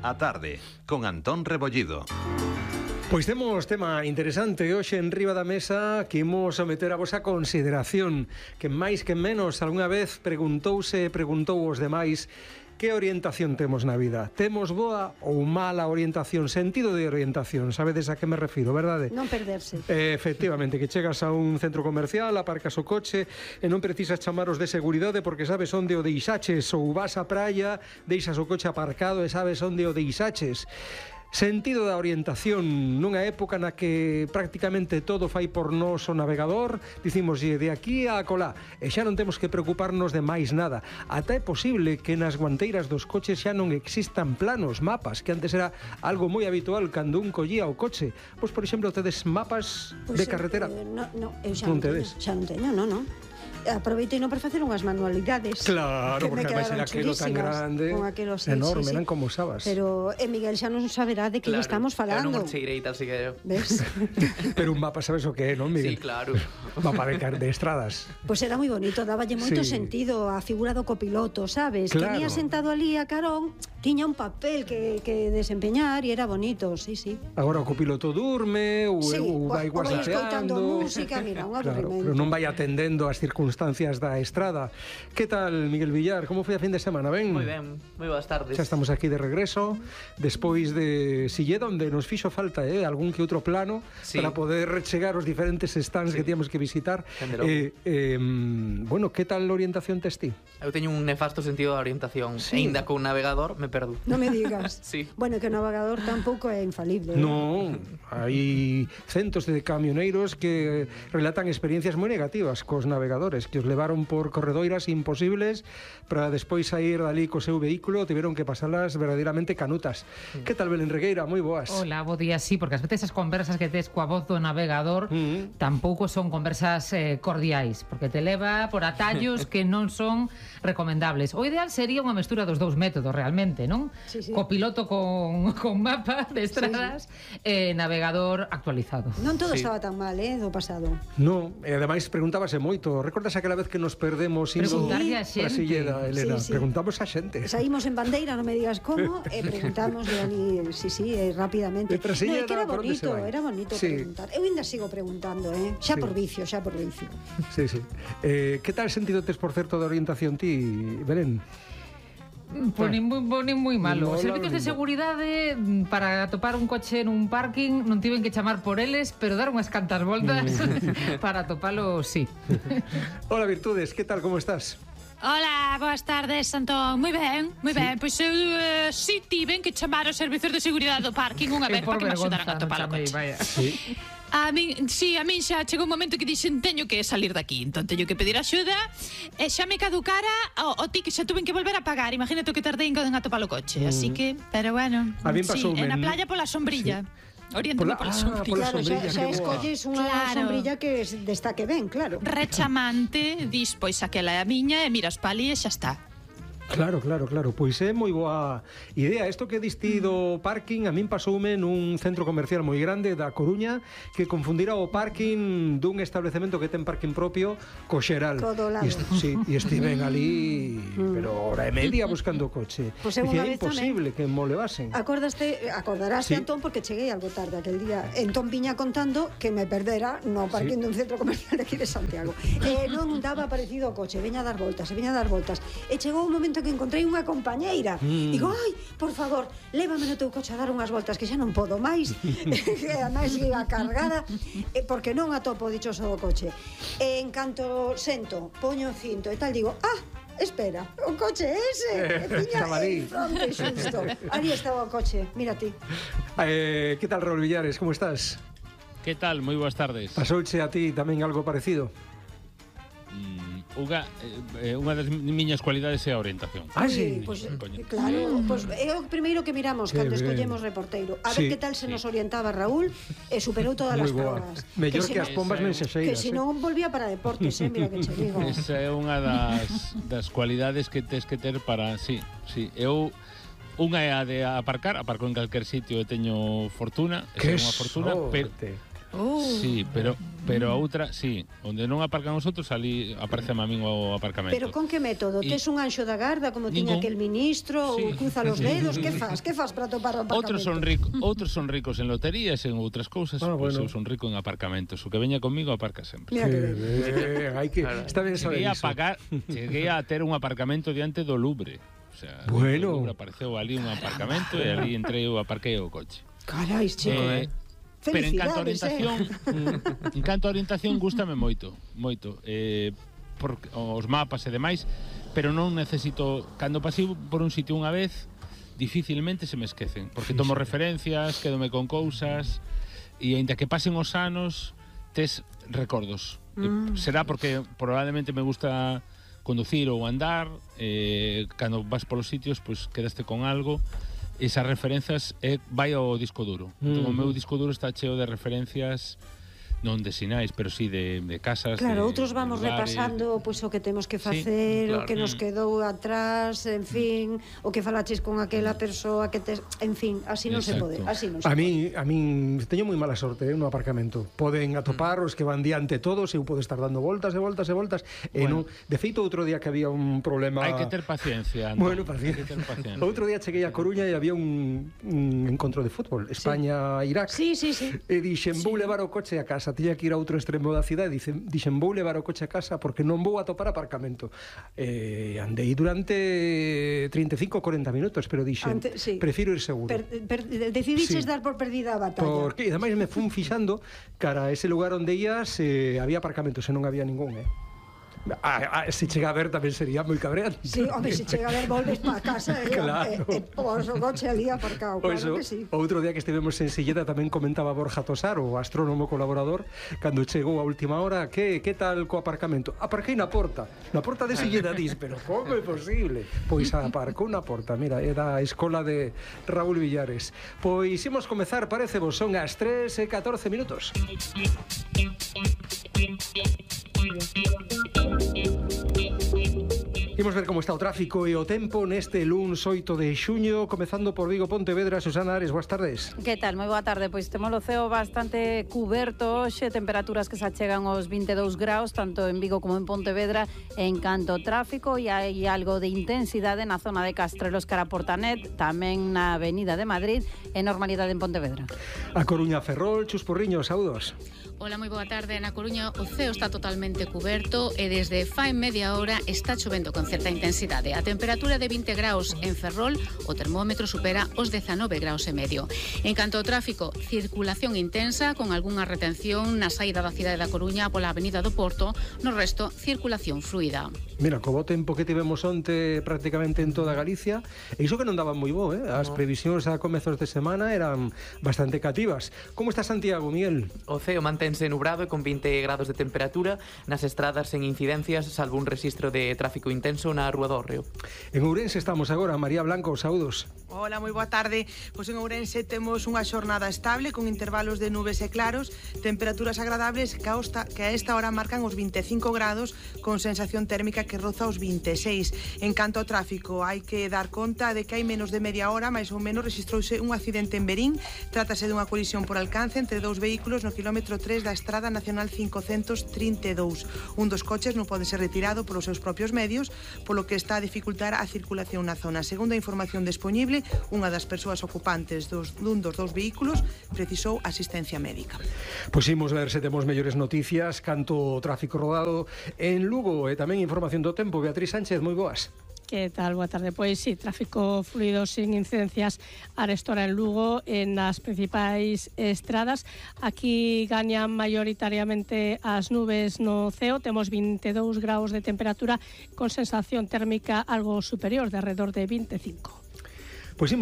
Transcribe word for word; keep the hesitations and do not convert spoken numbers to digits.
A tarde, con Antón Rebollido. Pois temos tema interesante hoxe en riba da mesa que imos someter a vosa consideración, que máis que menos algunha vez preguntouse e preguntou os demais que orientación temos na vida. Temos boa ou mala orientación, sentido de orientación, sabedes a que me refiro, verdade? Non perderse. Eh, efectivamente, que chegas a un centro comercial, aparcas o coche e non precisas chamaros de seguridade porque sabes onde o deixaches, ou vas á praia, deixas o coche aparcado e sabes onde o deixaches. Sentido da orientación nunha época na que prácticamente todo fai por nós o navegador, dicimoslle de aquí a acolá e xa non temos que preocuparnos de máis nada. Ata é posible que nas guanteiras dos coches xa non existan planos, mapas, que antes era algo moi habitual cando un collía o coche. Pois, por exemplo, tedes mapas pues de carretera? Eh, no, no, eu xa non, non tedes? teño, xa non teño, non, non. Aproveitei non para facer unhas manualidades. Claro, que porque ademais era aquilo tan grande, con aquelo, sí, enorme, sí, sí. non como usabas. Pero eh, Miguel xa non saberá de que claro, lle estamos falando. Claro, non cheirei tal si que eu. Ves? Pero un mapa sabes o que é, non, Miguel? Sí, claro. Mapa de, de estradas. Pois pues era moi bonito, dáballe moito Sí. sentido a figura do copiloto, sabes? Claro. Que venía sentado ali a carón, tiña un papel que, que desempeñar e era bonito, sí, sí. Agora o copiloto durme ou, Sí, ou vai ou vai escoitando guasateando. música, mira, un Claro, aburrimento. pero non vai atendendo as circunstancias da estrada. Que tal, Miguel Villar? Como foi a fin de semana, ben? Moi ben, moi boas tardes. Xa estamos aquí de regreso, despois de Silleda, onde nos fixo falta eh, algún que outro plano Sí. para poder chegar aos diferentes stands Sí. que tíamos que visitar. Dende logo. Eh, eh, bueno, que tal orientación tes ti? Eu teño un nefasto sentido da orientación. Sí. E ainda con navegador me perdo. Non me digas. Sí. Bueno, que o navegador tampouco é infalible. Non, hai centos de camioneiros que relatan experiencias moi negativas cos navegadores, que os levaron por corredoiras imposibles para despois sair dali co seu vehículo, tiveron que pasalas verdadeiramente canutas. Mm. Que tal, Belén Regueira? Moi boas. Hola, bo día, sí, porque ás veces as conversas que tes coa voz do navegador Mm. tampouco son conversas eh, cordiais, porque te leva por atallos que non son recomendables. O ideal sería unha mestura dos dous métodos, realmente, non? Sí, sí. Copiloto con, con mapa de estradas e sí, sí. eh, navegador actualizado. Non todo Sí. estaba tan mal, eh, do pasado. No, e ademais preguntábase moito. Recordas aquela vez que nos perdemos indo Preguntarlle a para xente. Silleda, Elena? Sí, sí. Preguntamos a xente. Saímos en bandeira, non me digas como, e preguntamos de ali, sí, sí, eh, rápidamente. De Trasilleda, No, é que era por onde se bonito, vai? era bonito Sí. preguntar. Eu ainda sigo preguntando, eh, xa Sí. por vicio, xa por vicio. Sí, sí. Eh, que tal sentido tes, por certo, de orientación ti, Belén? Ponen moi, ponen moi malo. Mola Os servizos de lindo. seguridade mm, para atopar un coche nun parking non tiven que chamar por eles, pero dar unhas cantas voltas para atopalo, sí. Hola, Virtudes, que tal, como estás? Hola, boas tardes, Antón. Moi ben, moi ben. Pois eu uh, si tiven que chamar os servizos de seguridade do parking unha vez Eu por para que me vergonza axudaran a non topar o chamei, coche. vaya. Sí. A min, si, a min xa chegou un momento que dixen teño que salir daqui, entón teño que pedir axuda e xa me caducara o, o ti que xa tuven que volver a pagar. Imagínate o que tardei en a topar o coche, así que, pero bueno, A min sí, pasoume en a en- playa pola sombrilla. Oriéntame Pola- pola, ah, sombrilla. pola Claro, xa, sombrilla, xa que boa. escolles unha Claro. sombrilla que destaque ben, claro. Rechamante, dis, pois aquela é a miña e miras pa ali e xa está. Claro, claro, claro. Pois é moi boa idea. Isto que diste do parking a min pasoume nun centro comercial moi grande da Coruña que confundira o parking dun establecemento que ten parking propio co xeral. Todo lado. E est- sí, e estiven ali pero hora e media buscando o coche. Pois eu Dicía, unha é vez imposible que mo levasen. Acordaste, acordarás, Sí. Antón, porque cheguei algo tarde aquel día. Entón viña contando que me perdera no parking Sí. dun centro comercial de aquí de Santiago. E non daba parecido ao coche, veña a dar voltas, e veña a dar voltas. E chegou un momento que encontrei unha compañeira. Mm. Digo, ai, por favor, lévame no teu coche a dar unhas voltas que xa non podo máis. E ademais iba cargada, e porque non atopo o dichoso do coche. E en canto sento, poño o cinto e tal, digo, ah, espera, o coche é ese. E tiña Estaba ali. en fronte xusto. Ali estaba o coche, mira ti. Eh, que tal, Raúl Villares? Como estás? Que tal? Moi boas tardes. Pasouche a ti tamén algo parecido? Mm, unha, eh, unha das miñas cualidades é a orientación. Ah, sí. Pois, Coño. claro, pois é o primeiro que miramos Que cando ben. escollemos reporteiro. A Sí, ver que tal se sí. nos orientaba Raúl e superou todas Moi as boa. probas. Mellor se que as non- pombas Esa é- mensexeiras. Que se non volvía para deportes, eh, mira que che digo. Esa é unha das, das cualidades que tes que ter para... Sí, sí. Eu... Unha é a de aparcar, aparco en calquer sitio e teño fortuna, Que esa é unha fortuna, pero, sorte. Oh. Sí, pero pero a outra, sí, onde non aparcan os outros, ali aparece a min o aparcamento. Pero con que método? Y... Tes un anxo da garda como tiña Ningún. aquel ministro Sí. ou cruza los dedos? Que fas? Que fas para topar o aparcamento? Outros son ricos, outros son ricos en loterías, en outras cousas, Ah, pois bueno. eu son rico en aparcamentos. O que veña comigo aparca sempre. Mira que Que ben. ben, hai que... Claro. Está ben saber Cheguei a iso. pagar, cheguei a ter un aparcamento diante do Louvre. O sea, Bueno. no Louvre apareceu ali un aparcamento e ali entrei eu aparquei o coche. Carai, chico. Eh, pero en canto a Felicidades, orientación, eh? en canto a orientación gústame moito, moito. Eh, por os mapas e demais, pero non necesito, cando pasei por un sitio unha vez, dificilmente se me esquecen, porque tomo referencias, quédome con cousas e aínda que pasen os anos, tes recordos. Mm. Será porque probablemente me gusta conducir ou andar, eh, cando vas polos sitios, pois quedaste con algo. Esas referencias é, vai ao disco duro. Mm. Entón, o meu disco duro está cheo de referencias non de sinais, pero sí de, de casas, Claro, de, outros vamos de lugares. repasando pois, o que temos que Sí, facer, claro. o que nos Mm. quedou atrás, en fin, o que falaches con aquela persoa que tes, en fin, así non se Exacto. pode, así non se A mí, a min teño moi mala sorte eh, no aparcamento. Poden atopar os que van diante todos, eu podo estar dando voltas e voltas e voltas e Bueno. non, de feito outro día que había un problema. Hai que ter paciencia, Antón. Bueno, paciencia. Hai que ter paciencia. Outro día cheguei a Coruña e había un, un encontro de fútbol, España-Irak. Sí, sí, sí. E dixen, vou levar o coche a casa, tiña que ir a outro extremo da cidade, dicen, dixen, vou levar o coche a casa porque non vou atopar aparcamento. Eh, andei durante treinta e cinco a corenta minutos, pero dixen, Ante- sí. prefiro ir seguro. Per, per, decidiches Sí. dar por perdida a batalla. Porque, e ademais me fun fixando cara a ese lugar onde ías, eh, había aparcamentos e non había ningún, eh. Ah, ah, se chega a ver tamén sería moi cabreante. Sí, home, se chega a ver, volves para casa e, Claro. e, e pos o coche ali aparcado, Pois claro o, que sí. outro día que estivemos en Silleda tamén comentaba Borja Tosar, o astrónomo colaborador, cando chegou a última hora, que que tal co aparcamento? Aparquei na porta, na porta de Silleda, dis, pero como é posible? Pois aparcou na porta, mira, é da escola de Raúl Villares. Pois imos comezar, parece vos, son as tres e catorce minutos. Imos ver como está o tráfico e o tempo neste luns oito de xuño, comezando por Vigo, Pontevedra. Susana Ares, boas tardes. Que tal? Moi boa tarde. Pois temos o ceo bastante cuberto hoxe, temperaturas que se achegan aos vinte e dous graus, tanto en Vigo como en Pontevedra. En canto ao tráfico, e hai algo de intensidade na zona de Castrelos cara a Portanet, tamén na Avenida de Madrid, e normalidade en Pontevedra. A Coruña, Ferrol, Chus Porriño, saúdos. Ola, moi boa tarde. Na Coruña o ceo está totalmente cuberto e desde fai media hora está chovendo con certa intensidade. A temperatura de vinte graus en Ferrol, o termómetro supera os dezanove graus e medio. En canto ao tráfico, circulación intensa con algunha retención na saída da cidade da Coruña pola Avenida do Porto, no resto, circulación fluida. Mira, co bo tempo que tivemos onte prácticamente en toda Galicia, e iso que non daban moi bo, eh? As previsións a comezos de semana eran bastante cativas. Como está Santiago, Miguel? O ceo mantense nubrado e con vinte grados de temperatura, nas estradas sen incidencias, salvo un rexistro de tráfico intenso na Rúa do Hórreo. En Ourense estamos agora, María Blanco, saúdos. Hola, moi boa tarde. Pois en Ourense temos unha xornada estable con intervalos de nubes e claros, temperaturas agradables que a, osta, que a esta hora marcan os vinte e cinco grados con sensación térmica que roza os vinte e seis. En canto ao tráfico, hai que dar conta de que hai menos de media hora, máis ou menos, registrouse un accidente en Berín. Trátase dunha colisión por alcance entre dous vehículos no kilómetro tres da Estrada Nacional quinhentos trinta e dous. Un dos coches non pode ser retirado polos seus propios medios, polo que está a dificultar a circulación na zona. Segundo a información disponible, unha das persoas ocupantes dos, dun dos dous vehículos precisou asistencia médica. Pois imos ver se temos mellores noticias canto o tráfico rodado en Lugo e tamén información do tempo. Beatriz Sánchez, moi boas. Que tal? Boa tarde. Pois sí, tráfico fluido sin incidencias arestora en Lugo en as principais estradas. Aquí gañan maioritariamente as nubes no ceo. Temos vinte e dous graus de temperatura con sensación térmica algo superior, de alrededor de vinte e cinco. Pois imos